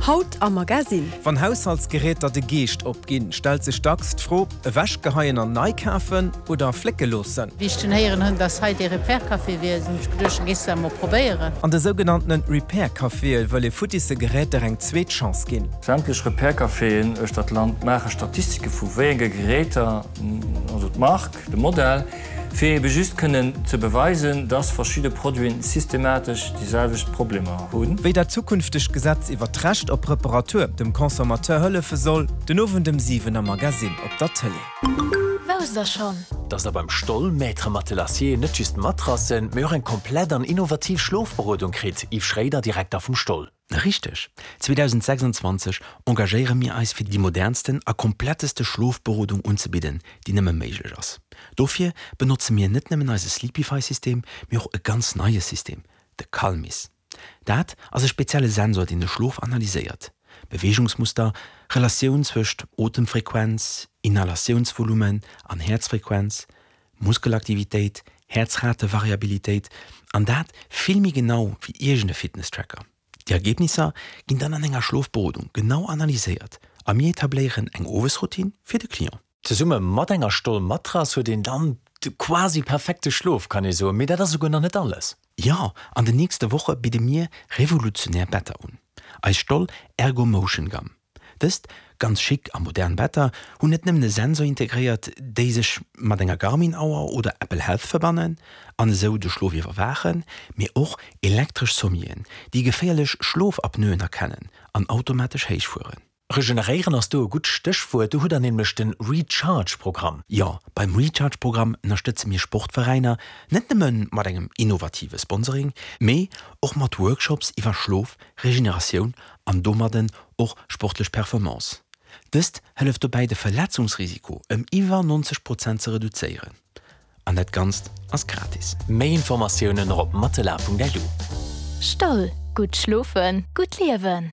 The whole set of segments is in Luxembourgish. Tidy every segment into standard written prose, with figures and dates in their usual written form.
Haut am Magasinn. Wann Haushaltsgeräter de Geescht opginn, stellt sech dacks d'Fro, Ewechgeheien an nei kafen oder flécke loossen? Wéi ech dunn héieren hunn, dass hei dee Repair Café wier, hunn ech geduecht, da gees de dat emol probéieren. An de sougenanntene Repair Caféë wëll ee futtisse Geräter eng zweet Chance ginn. Sämtlech Repair Caféen uechter d'Land maache Statistike vu wéi enge Geräter, also d'Mark, de Modell, fir ebe just kënnen ze beweisen, dass verschidde Produiten systematesch déi selwecht Problemer hunn. Wéi dat zukünftegt Gesetz iwwer d'Recht op Reparatur dem Consommateur hëllefe soll, den Owend ëm 7 am Magasinn op der Tëlee. Wousst der schonn? Dass der beim Stoll Maître Matelassier net just Matrassen, mee och eng komplett an innovativ Schlofberodung kritt, Yves Schréider, Direkter vum Stoll. Richteg! 2026 engagéiere mir eis fir déi modernsten a kompletteste Schlofberodung unzebidden, déi nëmme méiglech ass. Dofir benotze mir net nëmmen eise Sleepify-System, mee och e ganz neie System, de Calmis. Dat ass e spezielle Sensor, deen de Schlof analyséiert, Beweegungsmuster, Relatioun zwëscht Otemfrequenz, Inhalatiounsvolumen an Häerzfrequenz, Muskelaktivitéit, Häerzratevariabilitéit, an dat vill méi genau wéi iergend e Fitnesstracker. Déi Ergebnisser ginn dann an enger Schlofberodung genau analyséiert a mir etabléieren eng Owesroutine fir de Client. Zesumme mat enger Stoll-Matrass huet een dann de quasi perfekte Schlof, kann ee soen. Mee dat ass esouguer nach net alles. Jo, an den nächste Woche bidde mir revolutionär Better un, eis Stoll Ergo Motion Gamm. Dëst ganz chic a modern Better hunn net nëmmen e Sensor integréiert, déi sech mat enger Garmin-Auer oder Apple Health verbannen an esou de Schlof iwwerwaachen, mee och elektresch Sommieren, déi geféierlech Schlofapnoen erkennen an automatesch héich fueren. Regeneréieren ass do e gutt Stéchwuert. Do hutt der nämlech de Recharge-Programm. Jo, beim Recharge-Programm ënnerstëtze mir Sportveräiner net nëmme mat engem innovative Sponsoring, mee och mat Workshops iwwer Schlof, Regeneratioun an domadden och sportlech Performance. Dëst hëlleft dobäi de Verletzungsrisiko ëm iwwer 90 Prozent ze reduzéieren. An dat Ganzt ass gratis. Méi Informatiounen och op matela.lu. Stoll, gutt schlofen, gutt liewen!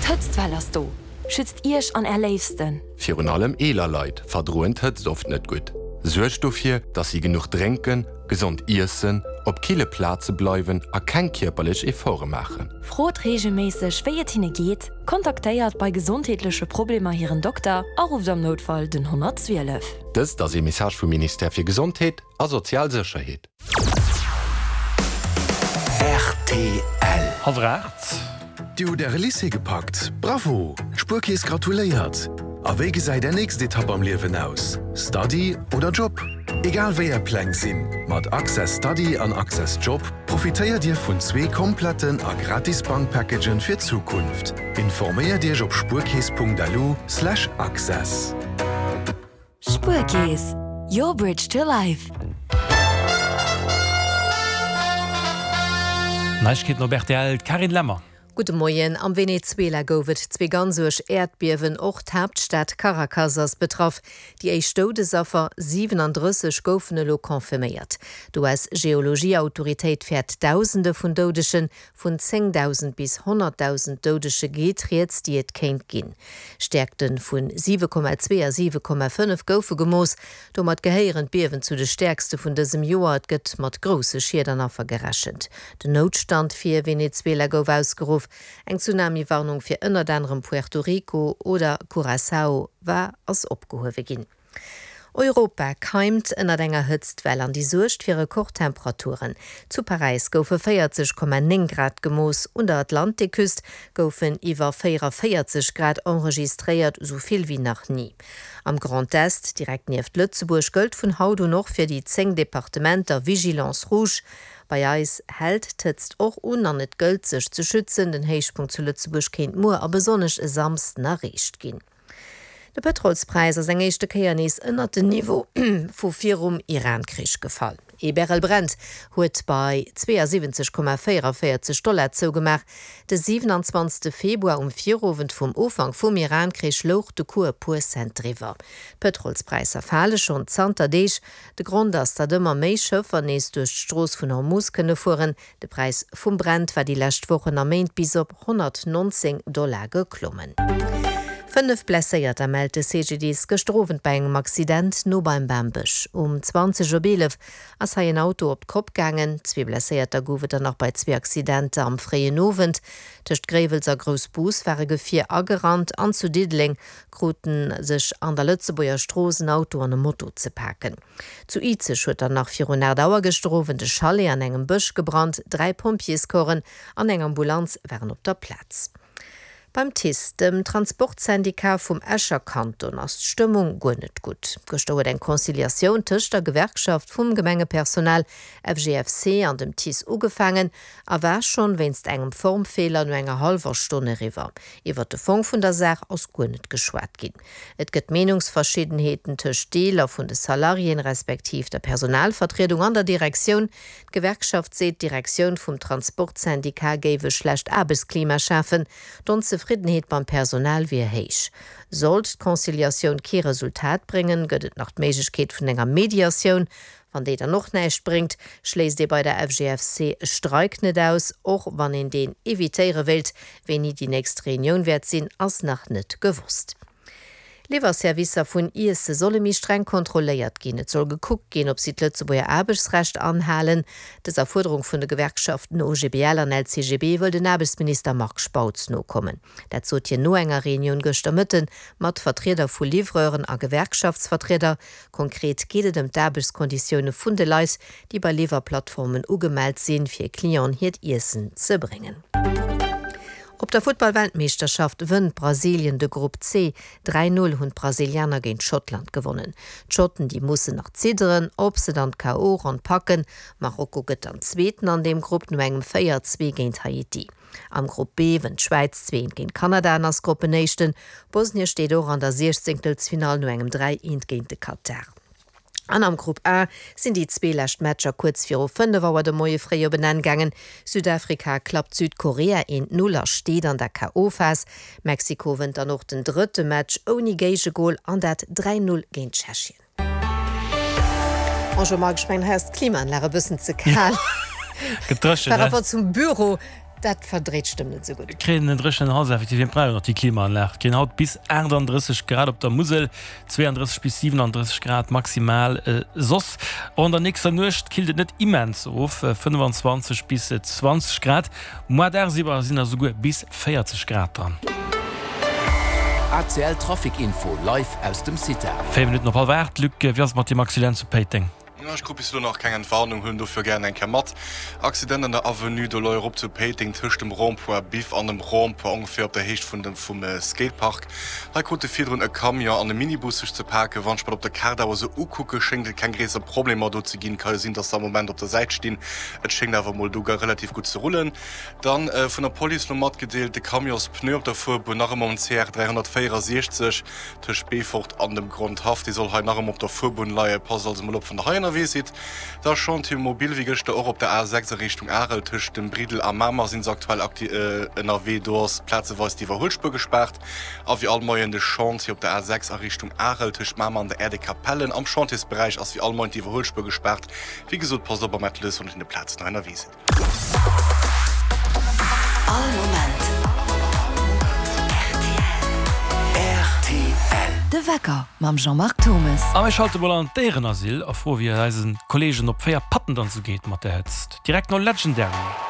D'Hëtztwell ass do! Schützt Iech an Är Léifsten! Virun allem eeler Leit verdroen d'Hëtzt oft net gutt. Suergt dofir, dass si genuch drénken, gesond iessen, op kille Plaze bleiwen a keng kierperlech Efforte maachen. Frot reegelméisseg, wéi et hinne geet, kontaktéiert bei gesondheetleche Problemer hiren Dokter a rufft am Noutfall den 112. Dëst ass ee Message vum Ministère fir Gesondheet a sozial Sécherheet. Rtl. Hallwer 8. Dir hutt Äre Lycée gepackt? Bravo! D'Spuerkeess gratuléiert! A wéi gesäit Är nächst Etapp am Liewen aus? Study oder Job? Egal wéi Är Pläng sinn, mat Access Study an Access Job profitéiert Dir vun zwee kompletten a gratis Bankpackagen fir d'Zukunft. Informéiert Iech op spuerkeess.lu/access. Spuerkeess, your bridge to life. Neiegkeeten op rtl, d'Carine Lemmer. Gudde Moien. Am Venezuela gouf et zwee ganz uerg Äerdbiewen. Och d'Haaptstad Caracas ass betraff. Déi éischt Doudesaffer, 37, goufen elo confirméiert. D'US-Geologie-Autoritéit fäert Dausende vun Doudegen. Vun 10.000 bis 100.000 Doudege geet rieds, déi et kéint ginn. Stäerkte vu 7,2 a 7,5 goufe gemooss. Domat gehéieren d'Biewen zu de stäerkste vun dësem Joer. Et gëtt mat grousse Schied an Affer gerechent. Den Noutstand fir Venezuela gouf ausgeruff. Eng Tsunami-Warnung fir ënnert anerem Puerto Rico oder Curaçao war ass opgehuewe ginn. Europa keimt ënnert enger Hëtztwell an déi suergt fir Rekordtemperaturen. Zu Paräis goufe 40,9 Grad gemooss, un der Atlantikküst goufen iwwer 44 Grad enregistréiert, esou vill wéi nach ni. Am Grand Est, direkt nieft Lëtzebuerg, gëllt vun haut un och fir déi 10 Departementer Vigilance rouge. Bei eis hält d'Hëtzt och un an et gëllt sech ze schützen. Den Héichpunkt zu Lëtzebuerg kéint muer a besonnesch e Samsden erreecht ginn. De Pëtrolspräis ass eng éischte Kéier nees ënnert den Niveau vu virum Iran-Krich gefall. Ee Barrel Brent huet bei 72,44 Dollar zougemaach. De 27. Februar um Virowend vum Ufank vum Iran-Krich louch de Cours e puer Cent driwwer. D'Pëtrolspräisser fale schonn zanter Deeg. De Grond ass, datt ëmmer méi Schëffer nees duerch d'Strooss vun Hormuz kënne fueren. De Präis vum Brent war déi lescht Wochen a Méint bis op 119 Dollar geklommen. 5 Blesséierter mellt de CGDIS gëschter Owend bei engem Accident no beim Bambësch. Um 20 op 11 ass hei en Auto op d'Kopp gaangen. Zwee Blesséierter gouf et dann nach bei zwee Accidenter am fréien Owend. Tëscht Gréiwels a Groussbus war e Gefier agerannt an zu Diddeleng kruten sech an der Lëtzebuerger Strooss en Auto an e Moto ze paken. Zu Izeg huet dann nach virun 8 Auer gëschter Owend e Chalet an engem Bësch gebrannt. Dräi Pompjeescorpsen an eng Ambulanz waren op der Plaz. Beim TICE, dem Transportsyndicat vum Escher Kanton, ass d'Stëmmung guer net gutt. Gëschter huet eng Conciliatioun tëscht der Gewerkschaft vum Gemengepersonal FGFC an dem TICE ugefaangen a war schonn wéinst engem Formfeeler no enger hallwer Stonn eriwwer. Iwwert de Fong vun der Saach ass guer net geschwat ginn. Et gëtt Meenungsverschiddenheeten tëscht Deeler vun de Salariéen, respektiv der Personalvertriedung an der Direktioun. D'Gewerkschaft seet, d'Direktioun vum Transportsyndicat géif e schlecht Aarbechtsklima schafen. D'Onzefriddenheet beim Personal wier héich. Sollt d'Conciliatioun kee Resultat bréngen, gëtt et nach d'Méiglechkeet vun enger Mediatioun. Wann déi dann och näischt bréngt, schléisst ee bei der FGFC e Streik net aus, och wann een deen evitéiere wéilt. Wéini déi nächst Reunioun wäert sinn, ass nach net gewosst. Liwwerservicer vun Iesse solle méi streng kontrolléiert ginn. Et soll gekuckt ginn, ob si d'Lëtzebuerger Aarbechtsrecht anhalen. Dëser Fuerderung vun de Gewerkschaften OGBL an LCGB wëll den Aarbechtsminister Marc Spautz nokommen. Dat sot hien no enger Reunioun gëschter Mëtte mat Vertrieder vu Livreuren a Gewerkschaftsvertrieder. Konkret geet et ëm d'Aarbechtskonditioune vun de Leit, déi bei Liwwerplattformen ugemellt sinn, fir Clienten hiert Iessen ze bréngen. Op der Futtball-Weltmeeschterschaft wënnt Brasilien de Grupp C. 3, 0 hunn d'Brasilianer géint Schottland gewonnen. D'Schotten, déi mussen nach zidderen, ob se dann d'KO-Ronn packen. Marokko gëtt dann Zweeten an deem Grupp no engem 4, 2 géint Haiti. Am Grupp B wënnt d'Schwäiz 2, 1 géint Kanada an ass Gruppenéischten. Bosnie steet och an der Siechzéngtelsfinall no engem 3, 1 géint de Katar. An am Grupp A sinn déi zwee lescht Matcher kuerz viru 5 Auer de Moie fréi op en Enn gaangen. Südafrika klappt Südkorea 1, 0 a steet an der KO-Phas. Mexiko wënnt dann och den drëtte Match ouni Géigegol an dat 3, 0 géint Tschechien. Bonjour Marc, ech mengen hei ass d'Klimaanlag e bëssen ze kal Gëtt dréchen, par ne? rapport zum Büro. Dat verdréit d'Stëmm net esou gutt. Kréien en dréchenen Hals effektiv. Mir brauchen och déi Klimaanlag. Kréien haut bis 38 Grad op der Musel, 32 bis 37 Grad maximal soss. Och an der nächster Nuecht killt et net immens of, 25 bis 20 Grad. Moar dagsiwwer sinn der souguer bis 40 Grad dran. ACL Trafic Info live aus dem CITA. 4 Minutten op hallwer 8. Luc, wéi ass et mat deem Accident zu Péiteng? Ech krut bis elo nach keng Entwarnung, huelen dofir gären eng Kéier mat. Accident an der Avenue de l'Europe zu Péiteng tëscht dem Rond-point Biff an dem Rond-point ongeféier op der Héicht vun dem vum Skatepark. Hei krute virdrun e Camion an e Minibus sech ze paken. Wann ech mer dat op der Kaart awer esou ukucke schéngt et keng gréisser Problemer do ze ginn. Ka jo sinn, dass se am Moment op der Säit stinn. Et schéngt awer mol do relativ gutt ze rullen. Dann vun der Police elo matgedeelt, de Camionspneu op der Fuerbunn nach ëmmer um CR 364. Tëscht Beefort an dem Grondhaff, dee soll hei nach ëmmer op der Fuerbunn leien. Passt also mol op, wann der hei ënnerwee sidd. Da Chantier mobile wéi gëschter och op der A6 a Richtung Arel. Tëscht dem Briddel a Mamer si se aktuell ënnerwee. Do ass plazeweis d'Iwwerhuelspuer gespaart. A wéi all Moien de Chantier op der A6 a Richtung Arel tëscht Mamer an der Aire des Capellen. Am Chantiersberäich ass wéi all Moien d'Iwwerhuelspuer gespaart. Wéi gesot, passt op am Atelier, wann der un de Plazen hei ënnerwee sidd. All Moment rtl. De Wecker mam Jean-Marc Thomes. A mir schalte mol an d'Déierenasyl a froe wéi et eise Kolleegen op 4 Patten dann esou geet mat der Hëtzt. Direkt no Legendary.